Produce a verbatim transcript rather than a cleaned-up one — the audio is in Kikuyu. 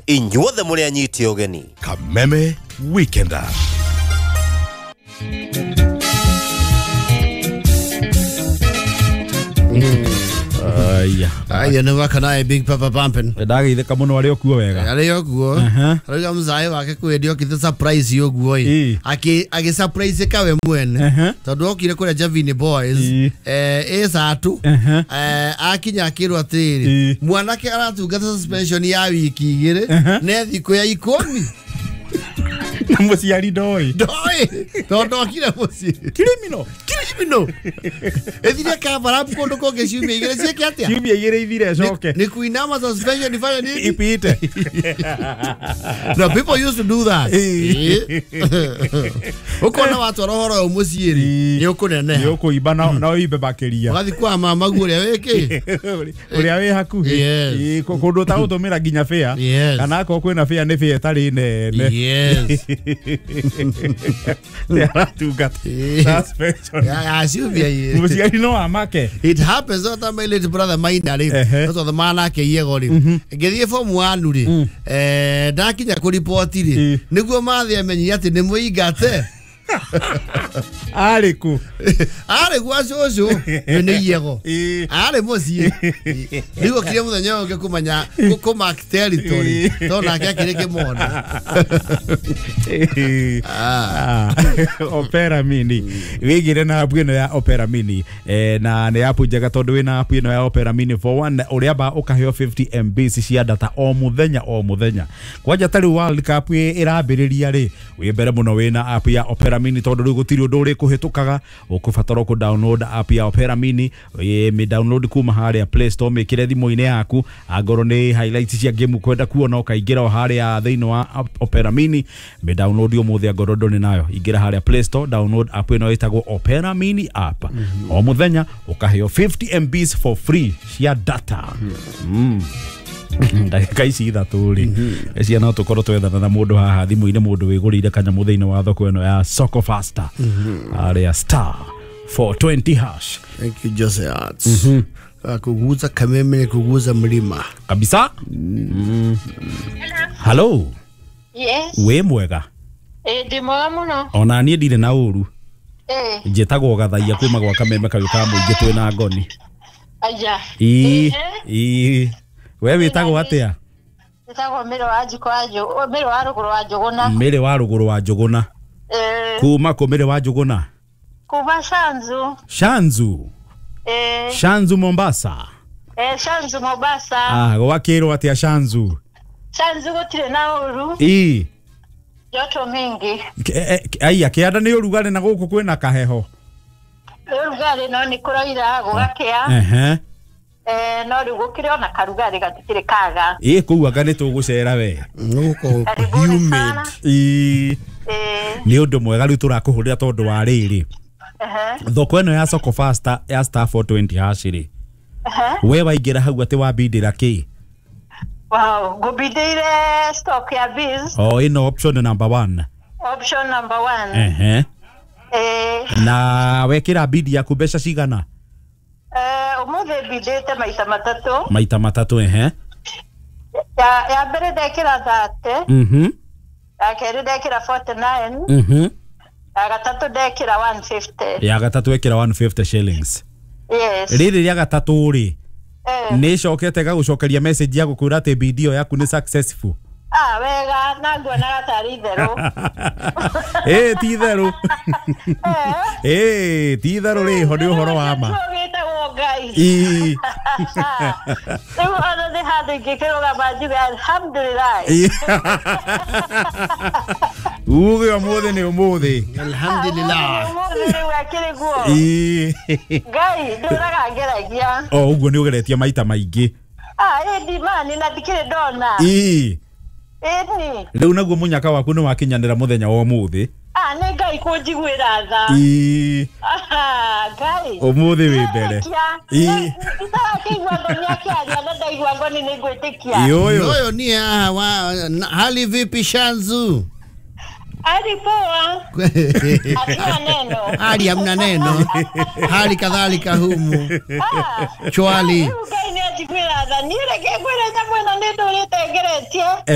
Inyuothe mũrĩ anyiti ũgeni. Kameme Weekender. Aya. Aya nĩ wakanae Big Papa Pumpin. Ndageithĩka mũno arĩ okuo wega. Arĩ okuo. Arauga mzae wake kwendio okire surprise ũguo ĩ. Akĩ agĩ surprise kawe mwene. Tondũ okire kũrĩa Javini Boys eh ĩ satu eh akinya akĩrwo atĩrĩrĩ mwanake aratungata suspension ya wiki igĩrĩ ne thikũ ya ikũmi. Na mũciari ndoĩ. Ndoĩ. Tondũ okire mũciĩ. Criminal. Criminal. Ethire cover up kũndũ kũngĩ ciumia igĩrĩ ciĩke atĩa? Ciumia igĩrĩ ithire coke. Ni kuinama suspension ifanye nini? Ipite. No, people used to do that. Ukona watwara ũhoro ũyũ mũciĩ rĩ, nĩ ũkũneneha. Nĩ ũkũimba na ũimbe makĩria. Ũgathiĩ kwa mama guo ũrĩa wĩkĩ? Ũrĩa wĩ hakuhĩ. Kũndũ ũtagũtũmĩra nginya fare. Kana akorwo kwĩna fare nĩ fare ĩtarĩ nene. Yes. Nĩ aratungata suspension. Ya ciumia igĩrĩ. Mũciari no amake. It happens all the my late brother Maina rĩ. Tondũ manake iego rĩ. Ngĩthiĩ form one rĩ. Eh ndakinya kũripoti rĩ. Nĩguo mathĩ amenyire atĩ nĩ mũingate. Arĩ kũ? Arĩ gwa cũcũ. Nĩ iego. Arĩ mũciĩ. Rĩu okire mũthenya ũngĩ kũmenya kũ mark territory. Tondũ nake akĩrĩ kĩmondo. Opera Mini. Wĩigĩre na app ĩno ya Opera Mini. Na nĩ app njega tondũ wĩna app ĩno ya Opera Mini for one ũrĩa ba ũkaheo fifty M B cia data o mũthenya o mũthenya. Kwanja ta rĩu World Cup ĩrambĩrĩria rĩ, wĩ mbere mũno wĩna app ya Opera Mini tondũ rĩu gũtirĩ ũndũ ũrĩkũhĩtũkaga. Ũkũbatara kũ download app ya Opera Mini, mĩ download kuma harĩa Play Store, mĩkĩre thimũ-inĩ yaku. Angorwo nĩ highlights cia game ũkwenda kuona ũkaingĩra o harĩa thĩinĩ wa Opera Mini, mĩ download ũmũthĩ angorwo ndũrĩ nayo. Ingĩra harĩa Play Store, download app ĩno ĩtagwo Opera Mini app. O mũthenya ũkaheo fifty M Bs for free cia data. Mm. Ndagĩka ici ithatũ rĩ, cia no tũkorwo twethana na mũndũ haha thimũ-inĩ, mũndũ wĩgũrĩire kanyamũ thĩinĩ wa thoko ĩno ya Soko Faster harĩa star four twenty hash. Thank you Jose Arts. Kuguza Kameme kuguza mlima kabisa. Hello. Yes. Wĩ mwega? Eh, ndĩ mwega mũno. Ona niĩ ndirĩ na ũru. Eh. Njĩtagwo Gathaia kuma gwa Kameme kayũ ka mũingĩ twĩna ngoni. Aya. Ii. Ii. We wĩtagwo atĩa? Njĩtagwo Mĩrĩ wa Njiko wa Njũgũna, Mĩrĩ wa Rũgũrũ wa Njũgũna. Mĩrĩ wa Rũgũrũ wa Njũgũna. Eh. Kuma kũ Mĩrĩ wa Njũgũna? Kuma Shanzu. Shanzu. Eh. Shanzu Mombasa. Eh, Shanzu Mombasa. Ah, gwakĩrwo atĩa Shanzu? Shanzu gũtirĩ na ũru. Ii. Joto mingi. Aya, kĩanda nĩ ũrugarĩ na gũkũ kwĩna kaheho. Ũrugarĩ no nĩ kũroira gũgakĩa. Ehe. Eh, no rĩu gũkĩrĩ ona karugarĩ gatikĩrĩ kaga. Ĩ kũu anga nĩ tũgũcera we. Gũkũ humid. Ĩ. Nĩ ũndũ mwega rĩu tũrakũhũrĩra tondũ wa rĩrĩ. Thoko ĩno ya Soko Faster ya star four twenty hash rĩ. We waingĩra hau atĩ wambindĩra kĩ? Wow, ngũbindĩire stock ya biz. Oh, ĩno option number one. Option number one. Ehe. Eh. Na wekĩra bid yaku mbeca cigana? Eh, ũmũthĩ mbindĩte maita matatũ. Maita matatũ, ehe. Ya ya mbere ndekĩra thirty. Mhm. Ya kerĩ ndekĩra forty nine. Mhm. Ya gatatũ ndekĩra one fifty. Ya gatatũ ekĩra one fifty shillings. Yes. Rĩrĩ rĩa gatatũ rĩ, nĩ icokete gagũcokeria message ya gũkwĩra atĩ bid ĩyo yaku nĩ successful. Ah, wega, na nguonaga tarĩ itherũ. Eh, ti itherũ. Eh, ti itherũ rĩho nĩ ũhoro wa ma. Wĩtagwo Ngai. Ii. Rĩu ona nĩ handũ ingĩkĩrũgama njuge alhamdulillah. Uge ũmũthĩ nĩ ũmũthĩ. Alhamdulillah. Ũmũthĩ rĩu akĩrĩ guo. Ii. Ngai ndũraga ngeragia. O ũguo nĩ ũgeretie maita maingĩ. Ah, ĩndi mani na ndikĩrĩ ndona. Ii. Ĩni. Rĩu naguo mũnyaka waku nĩ wakinyanĩra mũthenya wa ũmũthĩ. Ah, nĩ Ngai kũnjiguĩra tha. Ii. Ah, Ngai. Ũmũthĩ wĩ mbere. Ii. Itarakĩigua ngoni akĩaria na ndaigua ngoni nĩ ngwĩtĩkia. Ĩ ũyũ. Ũyũ ni haha wa hali vipi Shanzu? Hali poa. Hatuna neno. Hali hamna neno. Hali kadhalika humu. Ah. Chwali. Ngai nĩ njiguĩra tha. Niĩ reke ngwĩre nyamũ ĩno nĩ ndũrĩte ngeretie.